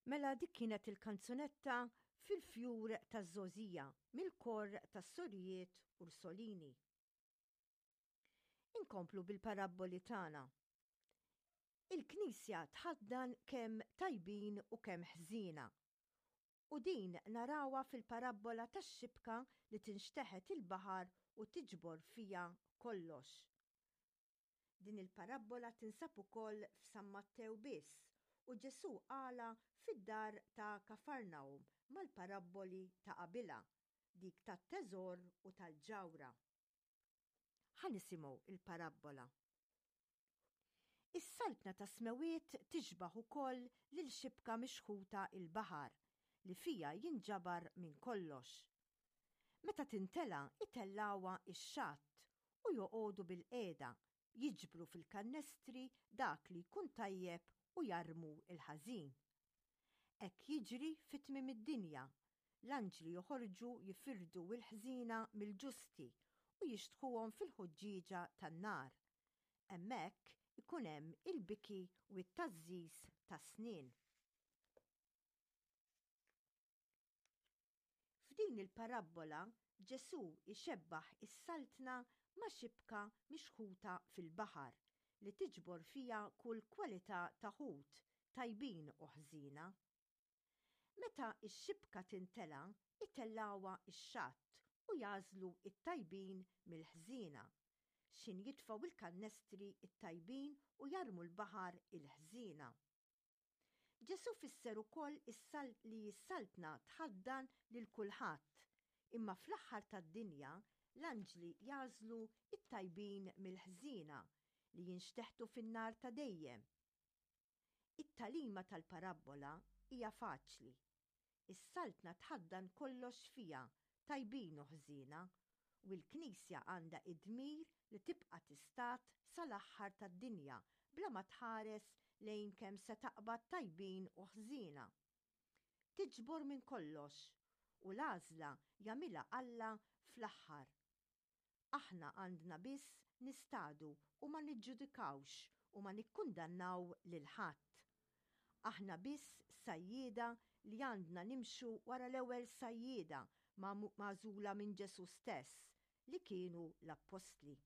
Mela dik kienet il-kanzunetta Fil-Fjur taż-Żgħożija mill-Kor tas-Sorijiet Ursolini. Inkomplu bil-parabboli tagħna. Il-Knisja tħaddan kemm tajbin u kemm ħżiena. U din narawha fil-parabbola tax-xibka li tinxteħet il-baħar u tiġbor fiha kollox. Din il-parabbola tinsab ukoll f'San Mattew biss u Ġesù qalha fid-dar ta' Kafarnahum mal-parabboli ta' qabilha, dik tat-teżor u tal-ġawhra. Ħa nisimgħu l-parabbola. Is-Saltna tas-Smewwiet tixbah ukoll lil xibka mixħuta l-baħar li fiha jinġabar minn kollox. Meta tintela' itellgħuha x-xatt u joqogħdu bilqiegħda jiġbru fil-kannestri dak li jkun tajjeb u jarmu l-ħażin. Hekk jiġri fi tmiem id-dinja, l-anġli joħorġu jifirdu l-ħżiena mill-ġusti u jixtħuhom fil-ħuġġieġa tan-nar. Hemmhekk ikun hemm il-biki u t-tgħażżiż tas-snien. F'din il-parabbola Ġesù jxebbah is-Saltna ma' xibka mixħuta fil-baħar li tiġbor fiha kull kwalità ta' ħut, tajbin u ħżiena. Meta x-xibka tintela' itellgħuha x-xatt u jagħżlu t-tajbin mill-ħżiena, x'ħin jitfgħu l-kannestri t-tajbin u jarmu l-baħar il-ħżiena. Ġesù fisser ukoll li s-Saltna tħaddan lil kulħadd, imma fl-aħħar tad-dinja l-anġli jagħżlu t-tajbin mill-ħżiena li jinxteħtu fin-nar ta' dejjem. It-tagħlima tal-parabbola hija faċli. Is-Saltna tħaddan kollox fiha, tajbin u ħżiena, u l-Knisja għandha id-dmir li tibqa' tistad sal-aħħar tad-dinja bla ma tħares lejn kemm se taqbad tajbin u ħżiena. Tiġbor minn kollox, u l-għażla jagħmilha Alla fl-aħħar. Aħna għandna biss nistadu u ma niġġudikawx u ma nikkundannaw lil ħadd. Aħna biss sajjieda li għandna nimxu wara l-ewwel sajjieda magħżula minn Ġesù stess, li kienu l-appostli.